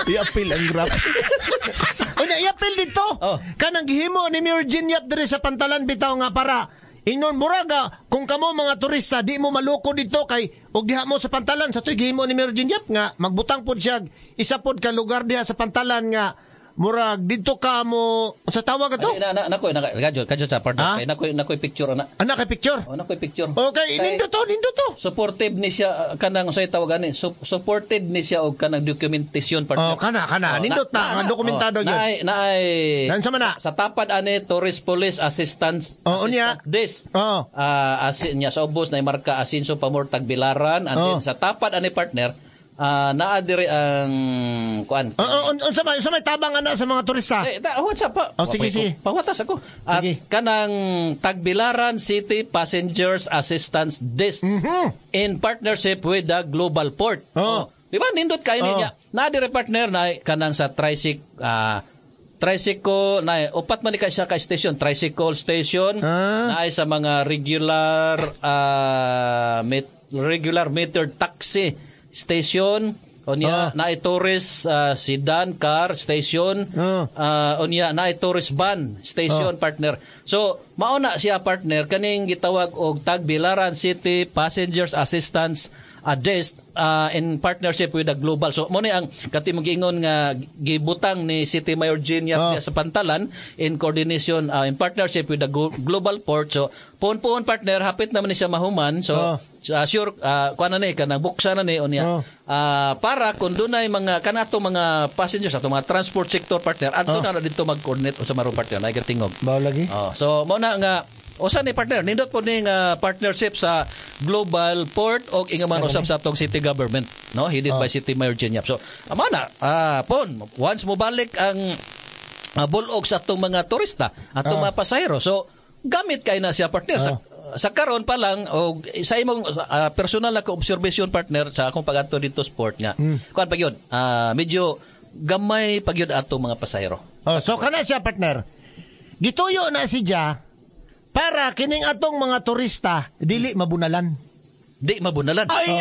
I-appeal ang Grab. Unya, i-appeal dito. Oh. Kanang gihimo ni Mayor Jean Yap diri sa Pantalan bitaw nga para ingnon muraga kung kamo mga turista di mo maloko dito kay og diha mo sa Pantalan sa to'y gihimo ni Mayor Jean Yap nga magbutang pod siya isa pod ka lugar diha sa Pantalan nga murag didto ka mo sa tawag ato. Ay, na na nako na kadyo kadyo sa partner Ah? kay nako picture ana. Anak kay picture. Oh, nako picture. Okay, Kay- nindo to, nindo to. Supportive ni siya kanang unsay tawag ani, supported ni siya og kanang documentation, partner. Oh, kana kana nindot na, nga dokumentado oh, gyud. Naay naay Naunsa man na? Sa tapad ani, Tourist Police Assistance Oh, unya. Assistant Desk. Oh. Asin niya sa ubos na marka Asinso Pamor Tagbilaran, and then Oh. sa tapad ani, partner, naa diri ang kuan. Oh, unsa may tabang ana sa mga turista? Eh, ta, what's up pa? Oh, sige, sige. Pawatas ako. At Sige. kanang Tagbilaran City Passengers Assistance Desk in partnership with the Global Port. Oh. Di ba nindot kayo Oh. niya? Na dire, partner, na kanang sa tricycle, tricycle na upat man ni ka siya ka station, tricycle station, naay sa mga regular regular metered taxi station, unya naay tourist sedan car station, unya naay tourist van station, partner. So mao na siya, partner, kaning gitawag og Tagbilaran City Passengers Assistance Desk in partnership with the Global. So mo ni ang kati mo giingon nga gibutang ni City Mayor Jean Yap diya sa Pantalan in coordination, in partnership with the Global Port. So puon-puon, partner, hapit naman ni siya mahuman. So sure, kuan na ni kanang buksan na ni unya. Para kung dunay mga kanato mga passengers ato mga transport sector, partner, adto na didto mag-coordinate sa maron, partner, na tingog. Bao lagi. Oh, so mao na nga usa ni, partner, nindot po ni nga partnership sa Global Port og ingaman usab sa atong city government, no, headed by City Mayor Jean Yap. So amo na, pon once mo balik ang bulog sa atong mga turista, atong mga pasahero. So gamit kay na siya, partner, sa karon pa lang og sa imong personal na observation, partner, sa akong pag-adto dito sa port nga. Kuan pa gyud, medyo gamay pa gyud atong mga pasahero. Oh, so kana siya, partner. Gituyo na siya para kining atong mga turista dili mabunalan. Di mabunalan. Ay!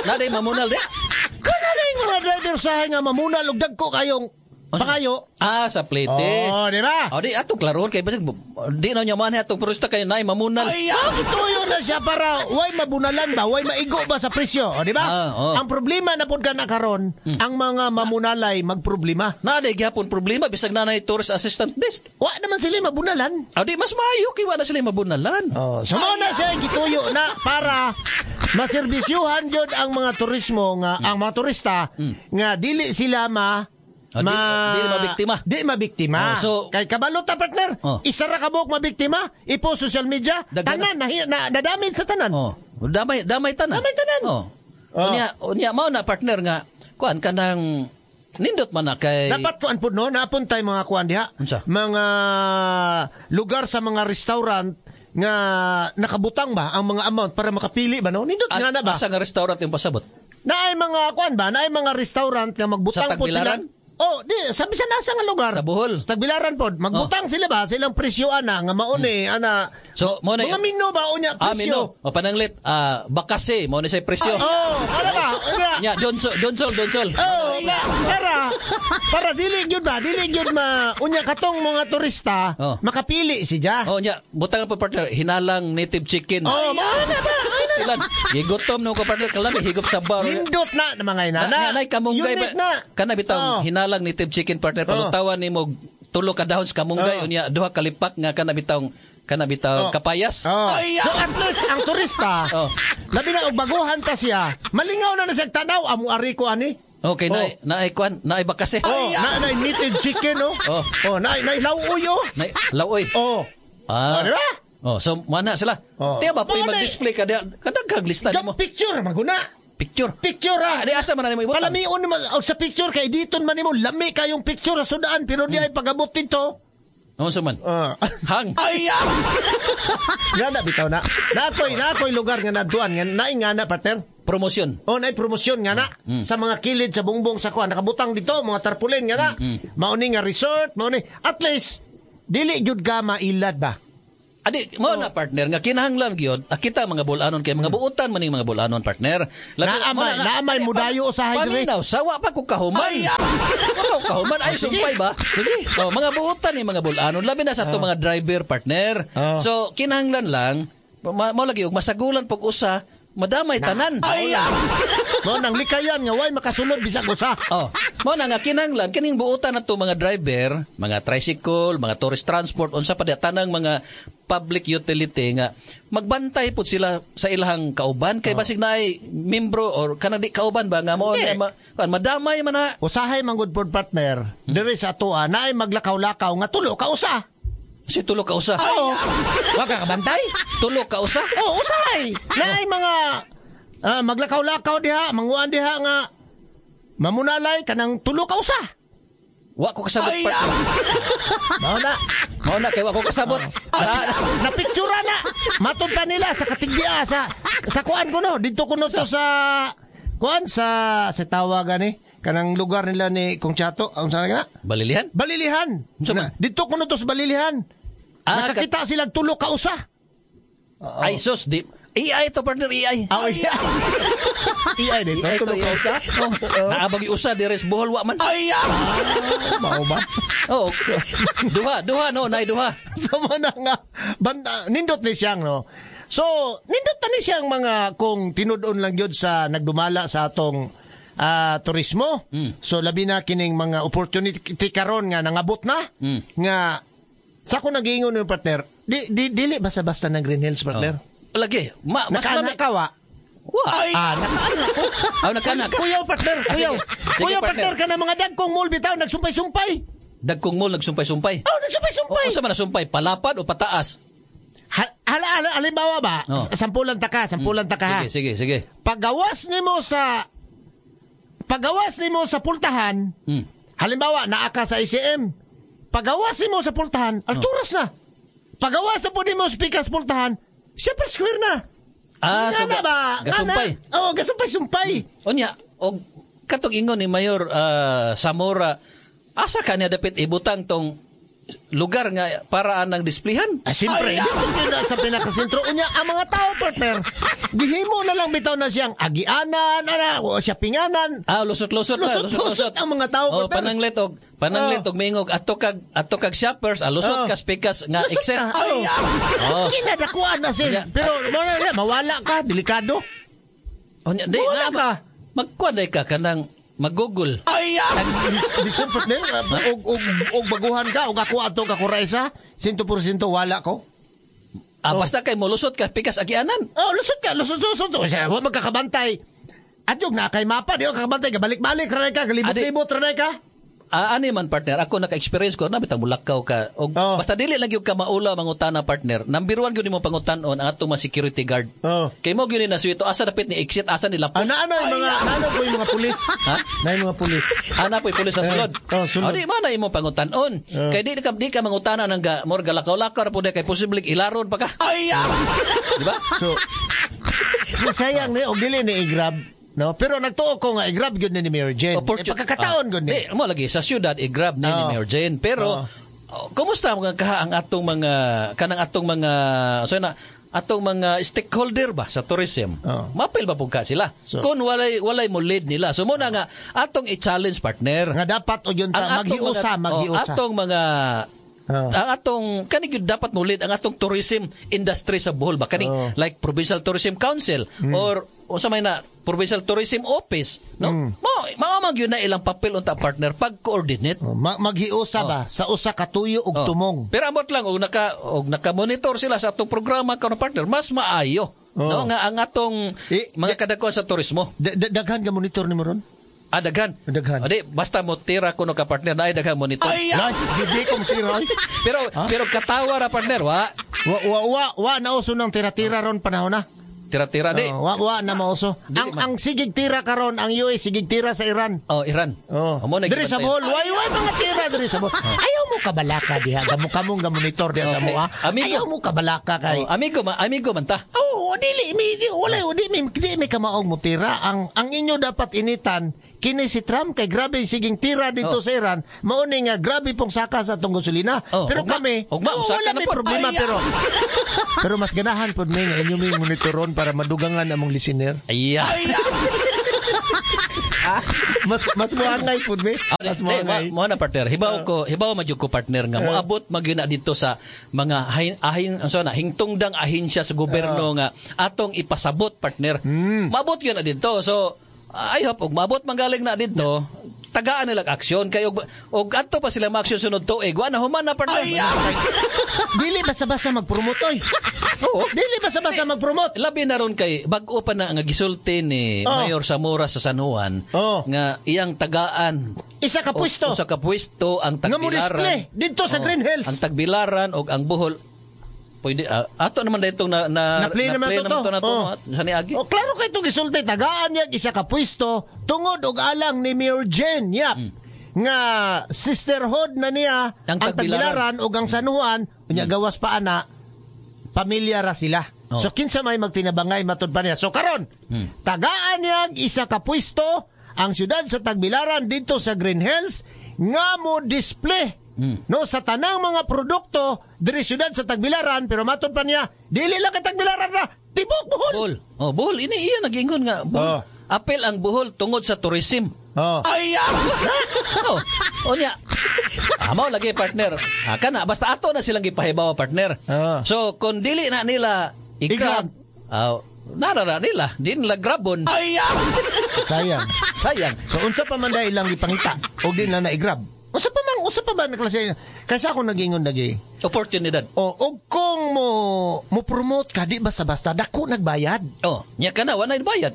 Na di mamunal di. Kana na yung mga driver sa nga mamunal og dagko kayong pangayo. Ah, sa plate. Oh, di ba? Oh, di atong klarohon kay basig di na niya man atong turista kay naay mamunal. Ah, gituyo na siya para way mabunalan ba, way maigo ba sa presyo, o, di ba? Ah, oh. Ang problema na pud kana karon, ang mga mamunalay magproblema. Na di gyapon problema bisag na nay tourist assistant desk. Wa naman sila mabunalan. Ah, di mas maayo kay wa na sila mabunalan. Oh, so mao na siya gituyo na para maserbisyuhan jud ang mga turismo nga ang mga turista nga dili sila ma Oh, dili mabiktima. Di mabiktima. Oh, so- kay kabalo ta, partner, Oh. isa ra ka buok mabiktima, ipo social media, Daghan tanan na, na, na damage sa tanan. Oh, damay damay tanan. Damay tanan. Oh. Oh. Unya unya mao na, partner, nga kuan kanang nindot man na kay Dapat kuan pud no, naapon tay mga kuan diha. Unsa? Mga lugar sa mga restaurant nga nakabutang ba ang mga amount para makapili ba no? Nindot nga na ba? Asa nga restaurant yung pasabot? Naay mga kuan ba? Naay mga restaurant nga magbutang Sa po sila. Tagbilaran? Oh, di sa bisan asa nga lugar. Sa Bohol. Sa Tagbilaran pod, magbutang sila ba sa ilang presyo ana nga mauni ana. So mo na mga mino ba unya Ah, presyo? mino. O pananglit, bakase mo ni say presyo. Oh, ano ba? Unya. Nya Johnson Johnson Johnson. Oh, ba, para para dili gyud ba, dili gyud ma unya katong mga turista Oh. makapili siya. Oh, nya butang pa, partner, hinalang native chicken. Oh, mao na ba? Ilan? Gigutom no ko, partner, kalami higop sa bar. Nindot na na mga inana. Na, na, nay kamunggay Unique ba? na. Kana bitaw Oh. hinalang native chicken, partner, palutawan nimo tulo ka dahon sa kamunggay, Oh. unya duha ka lipak nga kana bitaw Oh. kapayas. Oh. So at least ang turista, Oh. labi na og baguhan pa siya, malingaw na na siya tanaw amo ari ko ani. Okay, Oh. na naay kuan, naay bakase. Oh, na na native chicken oh. Oh. Oh, na na lauoy oh. Nay laoy. Oh. Ah. Oh, di ba? Oh, so mana sila. Oh. Tiya ba pwede Mo na- mag-display ka diha? Kadagkag lista Gam nimo. picture maguna. Picture. Picture ah. Ah, di asa man na nimo ibutang? Palamion naman oh, sa picture kay diton man nimo lami kayong picture sa sudaan pero di ay pagabot dito. Unsa man? Ah. Hang. Nga na bitaw na. Nakoy lugar nga naduan nga naing nga na, partner. Promosyon. Oh, naay promosyon nga na sa mga kilid sa bungbong sa kuan nakabutang dito mga tarpaulin nga na. Mauni nga resort, mauni at least dili gyud ka mailad ba. Adi mo na, partner, nga kinahanglan gyud kita mga bulanon kay mga buutan man ning mga bulanon, partner. Naamay, naamay mudayo usahay diri. Paminaw, sawa pa ko kahuman. Wa pa ko kahuman ay sumpay ba? Oh, mga buutan ni mga bulanon labi na sa ato mga driver, partner. So kinahanglan lang mao lagi og masagulan pag usa madamay tanan. Ay, mo nang likayan nga way makasulod bisag usa. Oh, mo na nga kinahanglan kining buutan nato mga driver, mga tricycle, mga tourist transport, unsa pa di tanang mga public utility nga magbantay pud sila sa ilahang kauban kay basig naay membro or kanang di kauban ba nga mo madamay man na. Usahay man gud pod, partner, diri sa atoa naay maglakaw-lakaw nga tulo ka usa. Si tulo ka usa. Oo. Wa ka kabantay? Tulo ka usa? Oo, usahay. Naay mga maglakaw-lakaw diha, manguan diha nga mamunalay kanang tulo ka usa. Wa ko kasabot, partner. Mao na. Mao na kay wa ko kasabot. Napictura na. Matod pa nila sa Katigbia sa kuan ko no. Didto kuno to sa kuan sa tawag gani kanang lugar nila ni Kong Chato, ang sana nga? Balilihan? Balilihan. Didto kuno to sa Balilihan. Nakakita sila tulo ka usa. Ay sus, di AI to, partner, AI. Ah, AI. AI dito, tulo ka usa. Naabag usa diri sa Bohol wa man. Ay. Mao ba? Oh. Duha no, nay duha. So mo na nga banda, nindot ni siyang no. So nindot ta ni siyang mga kung tinud-on lang gyud sa nagdumala sa atong turismo. So labi na kining mga opportunity karon nga nangabot na nga sa ko nagiingon ni partner, di dili basta-basta ng Green Hills, partner. Oh. Lagi, mas nakaana ka wa? Wa. Nakaana ko. Nakaana ka. Kuyaw, partner, kuyaw. Kuyaw, partner, ka na mga dagkong mall bitaw nagsumpay-sumpay. Dagkong mall nagsumpay-sumpay. Oh, nagsumpay-sumpay. Unsa man nasumpay, palapad o pataas? Halimbawa ba, sampulan ta ka, ha. Sige, sige. Pagawas nimo sa pultahan, halimbawa naa ka sa ACM. Pagawas nimo sa pultahan, alturas na. Pagawas sa po nimo sa pikas pultahan, Shepherd Square na. So nga na ba? Gasumpay. Oo, gasumpay-sumpay. Unya, og katong ingon ni Mayor Zamora, asa ka niya dapit ibutang tong lugar nga paraan ng displayhan? Siyempre, dito na sa pinakasentro. Unya, ang mga tao, partner, gihimo na lang bitaw na siyang agianan, ana, o siya pinganan. Lusot-lusot na. Lusot-lusot ang mga tao, partner. Pananglit og mingog ato kag shoppers, lusot ka pikas nga exit. Kinadakuan na siya. Pero mawala ka, delikado. Unya, di, mawala ka. Magkuan ka kanang mag-Google. Ay! Bisan, partner, og baguhan ka, og ako ato kakuraisa, 100% wala ko. Basta kay molusot ka, pikas agianan. Oh, lusot ka, lusot. O siya, wa magkakabantay. At yung na kay mapa, di ka kakabantay, gabalik-balik, ranay ka, galibot-libot, ranay ka. Ani man, partner, ako naka-experience ko na bitang mulakaw ka. Og basta dili lang gyud ka maula mangutana, partner. Number 1 gyud nimo pangutan-on ang atong mga security guard. Kay mo gyud ni nasuito asa dapit ni exit, asa ni lapos. Ano yung mga ano po yung mga pulis? Ha? Na yung mga pulis. Ana po yung pulis sa sulod. Sulod. Di man na imo pangutan-on. Kay di ka mangutana nang more galakaw-lakaw ra pud kay posible ilaron pa ka. Ay! Di ba? So sayang ni og dili ni i-grab. No, pero nagtuo ko nga i-grab gyud ni Mayor Jane. Pagkakataon gyud ni. Di mo lagi sa syudad i-grab ni Mayor Jane. Pero kumusta mga kaha ang atong mga kanang atong mga so na atong mga stakeholder ba sa tourism? Mapil ba pud ka sila? So, kung walay mo lead nila. So mo na nga atong i-challenge, partner. Nga dapat og yun ta maghiusa, maghiusa. Atong mga ang atong kani gyud dapat mo lead ang atong tourism industry sa Bohol ba kani like Provincial Tourism Council or unsa may na Provincial Tourism Office, no? Mao man gyud na ilang papel unta, partner, pag-coordinate. Maghiusa ba sa usa ka tuyo og tumong. Pero amot lang og naka monitor sila sa atong programa karon, partner, mas maayo. No nga ang atong mga kadagkuan sa turismo. Daghan ka monitor nimo ron? Daghan. Daghan. Di basta mo tira kuno ka, partner, naay daghan monitor. Ay, di ko tira. Pero katawa ra, partner, wa. Wa nauso nang tira-tira ron panahon na. Tira-tira di. Wa na mauso. Ang sigig tira karon ang US sigig tira sa Iran. Oh, Iran. Oh. Diri sa Bohol, way mga tira diri sa Bohol. Ayaw mo kabalaka diha. Gamo kamong gamonitor diha sa moa. Ayaw mo kabalaka kay. Amigo amigo man ta. Oh, dili mi di wala di mi di mi kamaog mo tira. Ang inyo dapat initan Kini si Trump kay grabe siging tira dito sa Iran, mao ni nga grabe pong saka sa atong gasolina. Oh, pero ugma. kami, Ugma, oh, usaka wala na may pod. problema pero pero mas ganahan pod mi nga inyo may monitoron para madugangan among listener. Iya. Mas mas moangay pod mi. Mas Di, moangay. mo na partner. Hibaw ko, hibaw man jud ko partner nga moabot magyud na dito sa mga ahin, ahin unsa na hingtungdang ahensya sa gobyerno nga atong ipasabot partner. Maabot gyud na dito. So I hope og maabot man galing na dito, tagaan nila aksyon kay og adto pa sila maaksyon sunod tuig, wa na human na partner. Dili basta-basta mag-promote oy. Oo. Dili basta-basta mag-promote. Labi na ron kay bag-o pa na nga gisulti ni Mayor Zamora sa San Juan nga iyang tagaan Isa ka pwesto. Usa ka pwesto ang Nga mo Tagbilaran. display dito sa Green Hills. Ang Tagbilaran og ang Bohol. Pwede ato naman ditong na na Na-play naman to to. to na to sa niagi. Oh, klaro kay itong gisulti tagaan niya isa ka pwesto tungod og alang ni Mayor Jen Yap nga sisterhood na niya Ang ang Tagbilaran. Tagbilaran ug ang San Juan unya gawas pa ana pamilya ra sila. So kinsa may magtinabangay matud pa niya. So karon tagaan niya isa ka pwesto ang siyudad sa Tagbilaran dito sa Green Hills nga mo display no sa tanang mga produkto diri siyudad sa Tagbilaran, pero matud pa niya dili lang kay Tagbilaran ra, tibok Bohol. Bohol. Oh, Bohol ini iya nagingon nga Bohol. Apel ang Bohol tungod sa tourism. Oh. Unya. Mao lagi partner. Ah, kana basta ato na silang gipahibaw partner. So kung dili na nila i-grab, narara nila, di nila grabon. Sayang. Sayang. So unsa pa man dahil ilang gipangita o di na na-grab. Unsa pa man, unsa pa ba na klase? Kaysa ako nagingon lagi. Oportunidad. O og kung mo mo promote ka di basta-basta dako nagbayad. Oh, nya kana wa na bayad.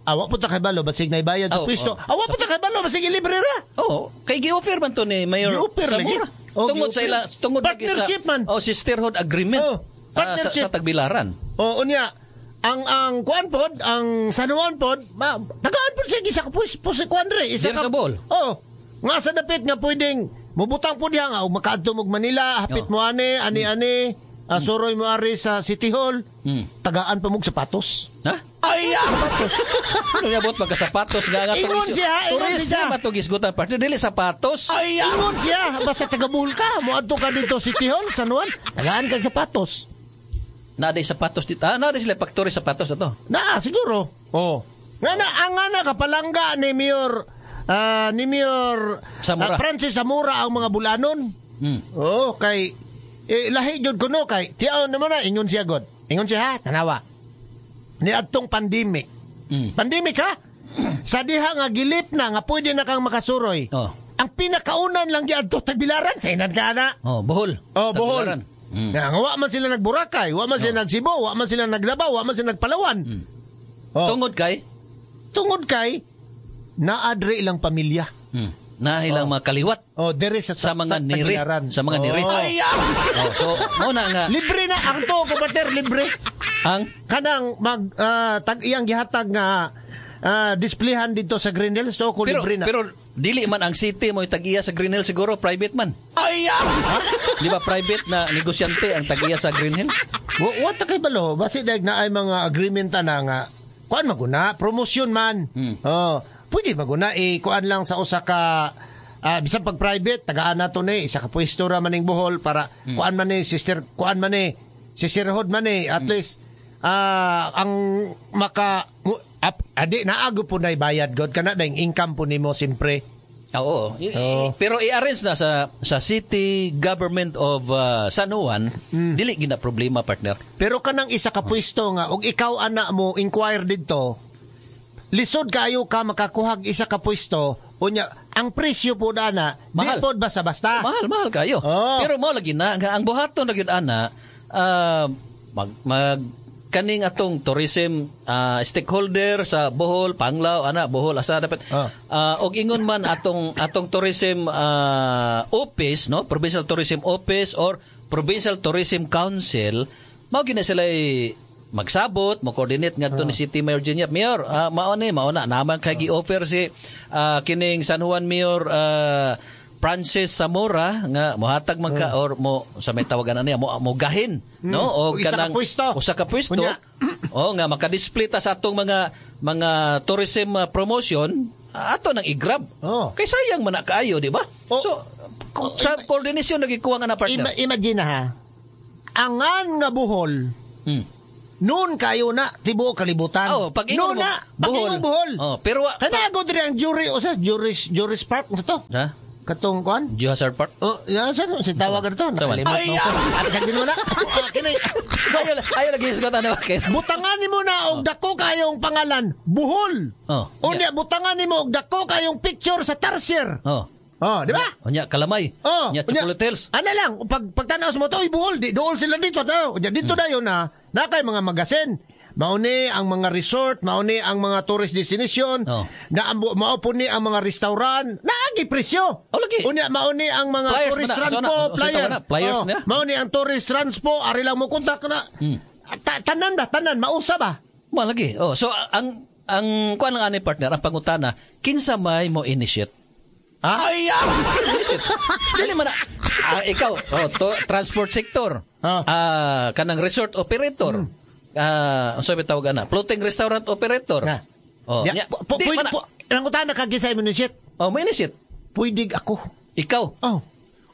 Awa po ta kay balo basig naibayad sa Oh, pwesto. oh. Awa po ta kay balo basig ilibre ra. Oh, kay gi-offer man to ni Mayor Gi-offer lagi. Zamora. Oh, Tungod sa gi-offer. ila, tungod lagi sa Partnership man. Oh, sisterhood agreement. Oh, partnership. Sa Tagbilaran. O unya ang kuan pod, ang San Juan pod, tagaan pod siya isa ka pus, pus kuan dre, isa Diri ka sa Bohol. Oh, nga sa dapit nga pwedeng mubutang pod diha nga og makaadto mo og Manila, hapit mo ani, ani-ani, suroy mo ari sa City Hall. Tagaan pa mog sapatos. Ha? Ay, sapatos. Ano niabot magka sapatos nga nga Ingon tourism. siya, ingon Tourism siya. ato gisgutan partner dili sapatos. Ay, ingon siya, basta taga Bohol ka, moadto ka dito City Hall, San Juan, tagaan kag sapatos. Naa sapatos dito. Ah, naa sila factory sapatos ato. Naa siguro. Oh. Nga na ang nga na kapalangga ni Mayor Zamora. Francis Zamora ang mga bulanon. Oh, kay lahi jud kuno kay tiaon naman na ingon siya god. Ingon siya ha, tanawa. Ni adtong pandemic. Pandemic ha? Sa diha nga gilip na nga pwede na kang makasuroy. Oh. Ang pinakaunan lang giadto Tagbilaran sa inan ka na. Oh, Bohol. Oh, Bohol. Tagbilaran. Nga, nga, wa man sila nagBoracay, wa man sila nagCebu, wa man sila nagLabao, wa man sila nagPalawan. Oh. Tungod kay Tungod kay naadre ilang pamilya. Na ilang mga kaliwat Oh, dere sa, sa mga niri, Tagbilaran. sa mga niri. Oh. Oh, so mo na nga Libre na ang to kupater libre. ang Kanang mag tag iyang gihatag nga displayhan dito sa Green Hills to ko pero libre na. pero dili man ang city mo tag-iya sa Green Hill siguro private man. Ay! Di ba private na negosyante ang tag-iya sa Green Hill? Wa ta kay balo, basi dag na ay mga agreement na nga kuan maguna, promotion man. Oh, pwede maguna eh kuan lang sa usa ka bisan pag private tagaan na to ni isa ka pwesto ra maning Bohol para kuan man ni sister kuan man ni sisterhood man ni at least ang maka adi naago po na bayad god kana na income po nimo siyempre. Oo. Pero i-arrange na sa City Government of San Juan, dili gina problema partner. Pero kanang isa ka pwesto nga og ikaw ana mo inquire didto, lisod kayo ka makakuhag isa ka pwesto, unya ang presyo po ana di Mahal. pod basta-basta. Mahal, mahal kayo. Oh. Pero mao lagi na nga ang buhaton na gyud ana mag kaning atong tourism stakeholder sa Bohol, Panglao, ana Bohol asa dapat og ingon man atong tourism office, no, Provincial Tourism Office or Provincial Tourism Council, mao gina sila magsabot, mo coordinate ngadto ni City Mayor Geniap. Mayor, mao ni, mao na naman kay gi-offer si kining San Juan Mayor Francis Zamora nga mohatag man ka or mo sa may tawagan na niya mo mo gahin no o Isa ka kanang pwesto. usa ka pwesto Unya. o nga makadisplay ta sa atong mga tourism promotion Ato nang i-grab. Oh. Kay sayang man na kaayo, di ba? Oh. So, sa coordination nagikuha nga na, partner. Imagine ha. Angan nga Bohol, noon kayo na tibuok kalibutan. Oh, pag ingon noon mo, na, pag ingon Bohol. Oh, pero Kana ako diri ang jury o sa Juris Park sa to. Ha? Katong kuan? Geohazard Park? Oh, yan sa si tawag to. Nakalimot Ay, mo ko. Ano sa din mo na? Ah, kini. So, ayo lagi hisgot ano bakit? Butangan nimo na og dako kayong pangalan, Bohol. Oh. Unya butangan nimo og dako kayong picture sa tarsier. Oh. Oh, di ba? Unya kalamay. Oh, Unya Chocolate Hills. Ano lang, pagtanaw sa mo to, oy Bohol, di dool sila dito. Unya dito dayon na, na kay mga magasin. Mauni ang mga resort, mauni ang mga tourist destination, na mao po ni ang mga restaurant, naagi presyo. Oh, lagi. Unya mauni ang mga Flyers tourist man na. transpo, So, na, flyer. na, flyers Oh, na. mauni ang tourist transpo, ari lang mo kontak na. Tanan ba, tanan mausa ba? Mo lagi. Oh, so ang kuan lang ani partner, ang pangutana, kinsa may mo initiate? Ha? Ay, initiate. Dili man na. Ikaw, oh, transport sector. Kanang resort operator. Unsa may tawag ana? Floating restaurant operator. Na. Oh, Ya, nya, di man na. Nangutana ka kinsa mo initiate? Oh, mo initiate. Pwede ako. Ikaw. Oh.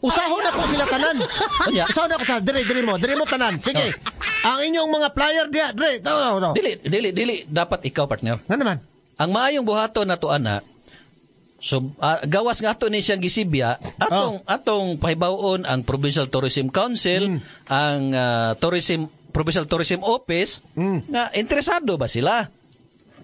Usahon ako sila tanan. Unya. Usahon ako tanan. Dire mo tanan. Sige. Ang inyong mga flyer diha, dire. No. Dili dapat ikaw, partner. Nga naman. Ang maayong buhaton nato ana. So gawas nga ato ni siyang gisibya, atong pahibaw-on ang Provincial Tourism Council, ang Provincial Tourism Office nga interesado ba sila?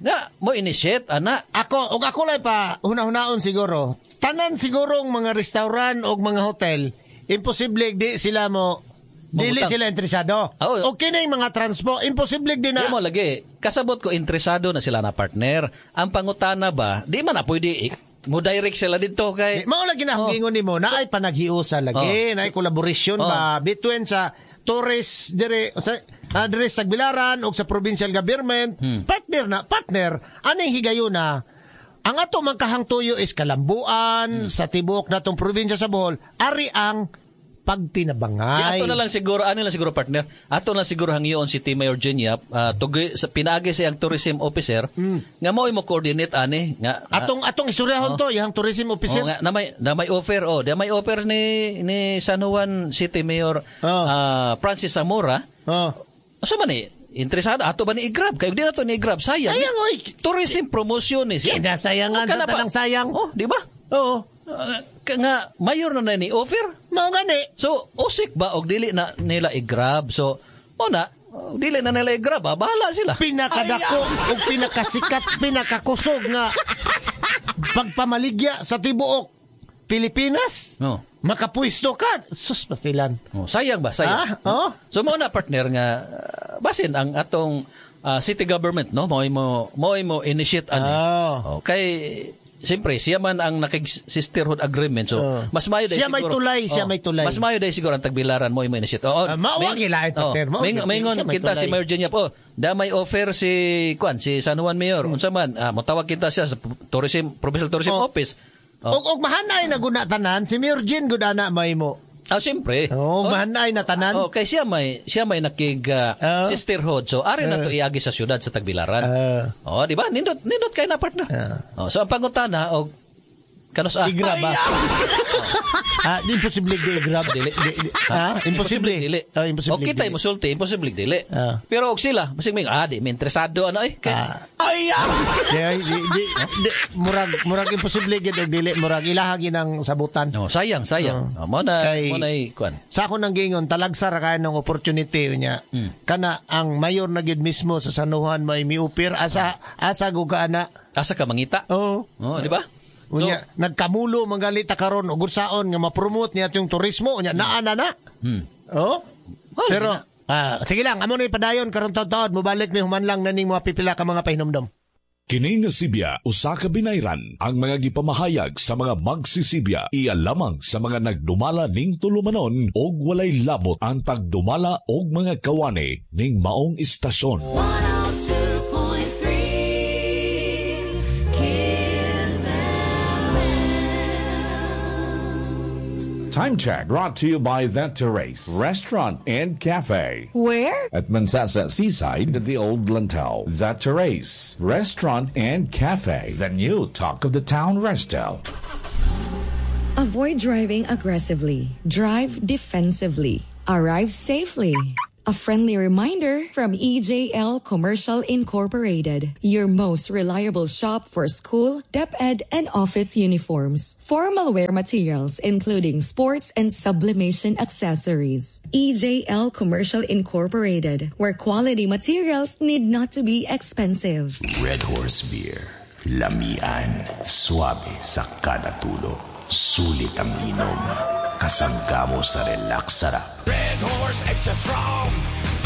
Nga mo initiate ana. Ako og ako lang pa huna-hunaon siguro. Tanan sigurong mga restaurant og mga hotel, imposible di sila mo dili sila interesado. Oh. O kining mga transpo, imposible di na. Di mo lagi. Kasabot ko interesado na sila na, partner. Ang pangutana ba, di man na pwede mo direct sila dito kay Di, mao lagi na akong giingon nimo, naay panaghiusa lagi, naay collaboration ba between sa tourist dire sa dire sa Tagbilaran o sa provincial government, partner na partner aning higayuna. Ang ato man kahangtuyo is kalambuan sa tibuok natong probinsya sa Bohol, ari ang pagtinabangay. Di, ato na lang siguro, ano lang siguro partner, ato na lang siguro hangyoon si T. Mayor Junior, sa pinaagi siyang tourism officer, nga mao mo coordinate ani nga atong istoryahon to, yang tourism officer. Oh, nga, na may offer, oh, na may offer ni San Juan City Mayor Francis Zamora. Oh. Asa man ni interesado ato ba ni i-grab? Kay di na to ni i-grab, sayang. Sayang oy. Tourism promotion ni siya. Kinasayangan sa tanang sayang. Oh, di ba? Oo. Nga mayor na ni offer. Mao gani. So usik ba og dili na nila i-grab? So mo na dili na nila i-grab, bahala sila. Pinakadako og pinakasikat, pinakakusog nga pagpamaligya sa tibuok Pilipinas. No. Makapuisto ka. Sus pasilan. Oh, sayang ba? Sayang. Ah, oh. So mo na partner nga basin ang atong city government, no, mo initiate ani. Oh. Kay siyempre, siya man ang nakig-sisterhood agreement. So, mas mayo dahil siya siguro. May tulay, siya may tulay. Mas mayo dahil siguro ang Tagbilaran mo initiate. Oo, mao gilain partner mo. Mingon kita si Mayor Junior. Oh, da may offer si Kwan, si San Juan Mayor. Unsa man, motawag kita siya sa Tourism Provincial Tourism Office. Og mahanay na guna tanan, si Mayor Jean gud ana may mo. Ah, siyempre. Oh, mahanay na tanan. Oh, kay siya may nakig sisterhood. So ari na to iagi sa siyudad sa Tagbilaran. Oh, di ba? Nindot kay na partner. Oh, so ang pangutana og kanus I-grab ba? Imposible di i-grab dili. Ha? Imposible dili. Oh, imposible. Og kita mo sulti, imposible dili. Pero og sila, masig may di may interesado ano eh. Kay, ay. Di, murag imposible gid og dili, murag ilaha ginang sabutan. No, sayang. Oh, mo na kuan. Sa ako nang giingon, talagsa ra kay ng opportunity niya. Kana ang mayor na gid mismo sa San Juan may miupir asa asa go ka ana. Asa ka mangita? Oo. Oh, di ba? Unya, so, nagkamulo manggali ta karon og unsaon nga ma-promote niya yung turismo unya naa na na. Oh. Well, pero sige lang, amo ni padayon karon taud-taud mobalik mi human lang naning mga pipila ka mga pahinomdom. Kini nga sibya usa ka binayran ang mga gipamahayag sa mga magsisibya iya lamang sa mga nagdumala ning tulumanon og walay labot ang tagdumala og mga kawani ning maong istasyon. 102.3 Kiss FM. Time Check brought to you by That Terrace Restaurant and Cafe. Where? At Mansasa Seaside at the Old Lantau. That Terrace Restaurant and Cafe. The new talk of the town resto. Avoid driving aggressively. Drive defensively. Arrive safely. A friendly reminder from EJL Commercial Incorporated, your most reliable shop for school, DepEd, and office uniforms. Formal wear materials, including sports and sublimation accessories. EJL Commercial Incorporated, where quality materials need not to be expensive. Red Horse Beer. Lamian. Suabe sa kada tulo. Sulit ang inom. Kasangga mo sa relax sarap. Red Horse Extra Strong,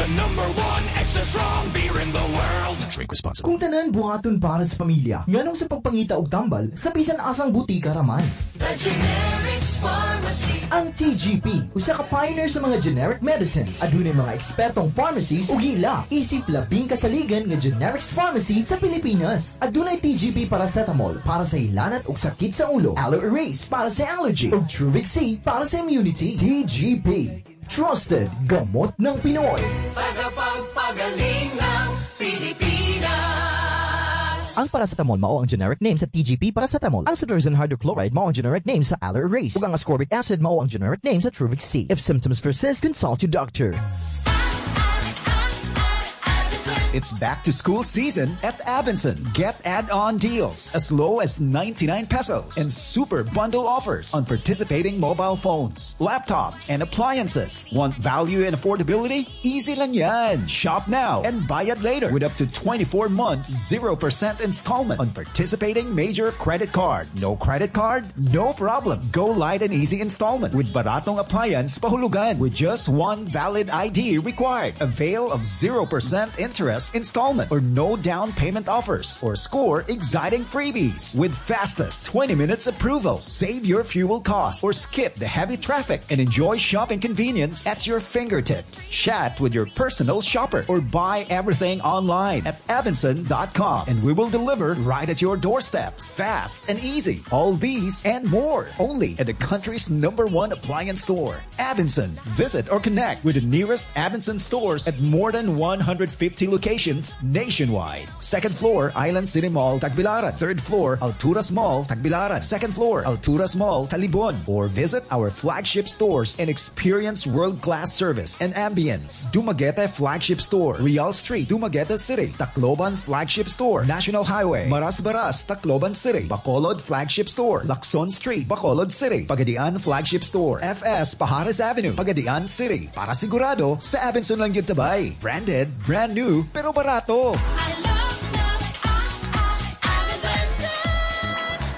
the number one extra strong beer in the world. Drink responsibly. Kung tanan buhaton para sa pamilya, nganong sa pagpangita og tambal sa bisan asang butika raman. The Generics Pharmacy. Ang TGP, usa ka pioneer sa mga generic medicines. Adunay mga ekspertong pharmacies ug ila isip labing kasaligan nga generics pharmacy sa Pilipinas. Adunay TGP paracetamol para sa hilanat ug sakit sa ulo, Aloe Erase para sa allergy, ug Truvix C para sa immunity. TGP, trusted gamot ng Pinoy. Tagapagpagaling ng Pilipinas. Ang paracetamol mao ang generic name sa TGP paracetamol. Ang cetirizine hydrochloride mao ang generic name sa Aloe Erase. Ug ang ascorbic acid mao ang generic name sa Truvix C. If symptoms persist, consult your doctor. It's back to school season at Abenson. Get add-on deals as low as 99 pesos and super bundle offers on participating mobile phones, laptops, and appliances. Want value and affordability? Easy lang yan. Shop now and buy it later with up to 24 months, 0% installment on participating major credit cards. No credit card? No problem. Go light and easy installment with Baratong Appliance Pahulugan with just one valid ID required. Avail of 0% interest installment or no down payment offers or score exciting freebies with fastest 20 minutes approval. Save your fuel costs or skip the heavy traffic and enjoy shopping convenience at your fingertips. Chat with your personal shopper or buy everything online at Abenson.com and we will deliver right at your doorsteps. Fast and easy. All these and more only at the country's number one appliance store, Abenson. Visit or connect with the nearest Abenson stores at more than 150 locations nationwide. Second floor, Island City Mall, Tagbilaran. Third floor, Alturas Mall, Tagbilaran. Second floor, Alturas Mall, Talibon. Or visit our flagship stores and experience world-class service and ambience. Dumaguete Flagship Store, Real Street, Dumaguete City. Tacloban Flagship Store, National Highway, Maras Baras, Tacloban City. Bacolod Flagship Store, Lacson Street, Bacolod City. Pagadian Flagship Store, FS Pajares Avenue, Pagadian City. Para sigurado, sa Abenson lang yun tabay. Branded, brand new, pero barato.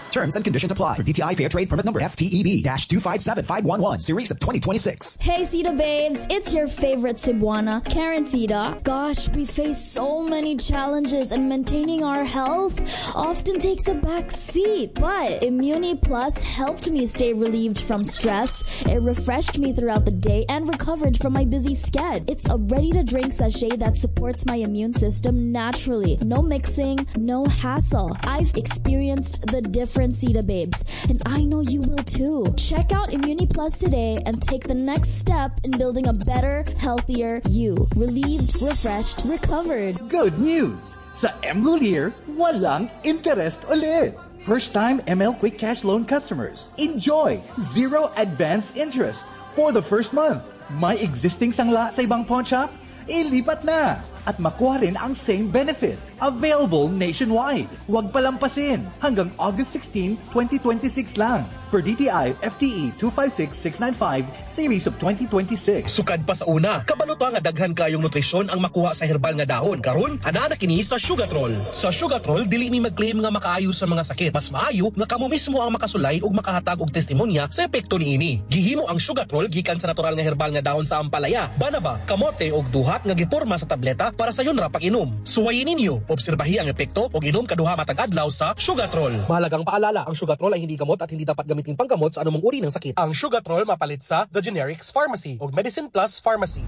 Terms and conditions apply. For DTI Fair Trade Permit Number FTEB-257511, Series of 2026. Hey, Sita babes, it's your favorite Cebuana, Karen Sita. Gosh, we face so many challenges and maintaining our health often takes a back seat. But Immuni Plus helped me stay relieved from stress. It refreshed me throughout the day and recovered from my busy schedule. It's a ready-to-drink sachet that supports my immune system naturally. No mixing, no hassle. I've experienced the difference, Sita babes, and I know you will too. Check out Immuni Plus today and take the next step in building a better, healthier you. Relieved, refreshed, recovered. Good news! Sa M Lhuillier, walang interest ulit. First-time ML Quick Cash Loan customers, enjoy zero advance interest for the first month. May existing sangla sa ibang pawn shop? Ilipat na! At makuha rin ang same benefit. Available nationwide. Huwag palampasin. Hanggang August 16, 2026 lang. Per DTI FTE 256695 Series of 2026. Sukad pa sa una, kabalo ta nga daghan kayong nutrisyon ang makuha sa herbal nga dahon. Karon, ana na kini sa Sugatrol. Sa Sugatrol, dili mi mag-claim nga makaayo sa mga sakit. Mas maayo nga kamo mismo ang makasulay ug makahatag og testimonya sa epekto niini. Gihimo ang Sugatrol gikan sa natural nga herbal nga dahon sa ampalaya, banaba, kamote ug duhat nga giporma sa tableta para sayon ra pag-inom. Suwayin ninyo, obserbahi ang epekto ug inom kaduha matag adlaw sa Sugatrol. Mahalagang paalala, ang Sugatrol ay hindi gamot at hindi dapat gamitin panggamot sa anumang uri ng sakit. Ang Sugatrol mapalit sa The Generics Pharmacy ug Medicine Plus Pharmacy.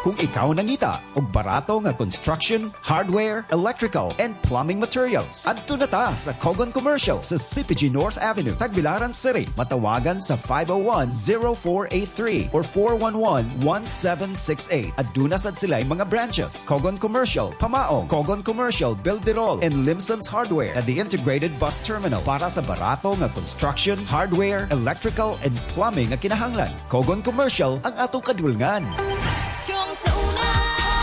Kung ikaw nangita og barato nga construction, hardware, electrical, and plumbing materials, adto na ta sa Kogon Commercial sa CPG North Avenue, Tagbilaran City. Matawagan sa 501-0483 or 411-1768. Aduna sad sila mga branches. Kogon Commercial, Pamaong, Kogon Commercial, Bilderol, and Limson's Hardware at the Integrated Bus Terminal para sa barato nga construction, hardware, electrical, and plumbing nga kinahanglan. Kogon Commercial ang atong kadulngan. Strong sa una,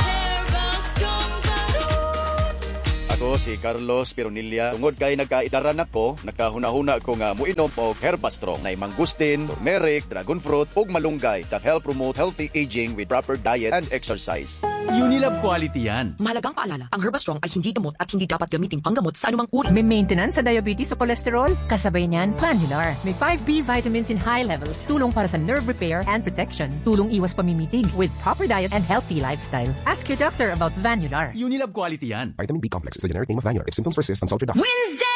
Herba Strong karon. Ako si Carlos Pironilla. Tungod kay nagkaidaran ako, nakahuna-huna ko nga muinom og Herbastrong na mangustin, turmeric, dragon fruit ug malunggay that help promote healthy aging with proper diet and exercise. Unilab quality yan. Mahalagang paalala, ang Herbastrong ay hindi gamot at hindi dapat gamitin panggamot sa anumang uri. May maintenance sa diabetes o cholesterol? Kasabay niyan, Planular. May 5B vitamins in high levels. Tulong para sa nerve repair and protection. Tulong iwas pamimitig with proper diet and healthy lifestyle. Ask your doctor about Vanular. Unilab quality yan. Vitamin B complex is the generic name of Vanular. If symptoms persist, consult your doctor. Wednesday!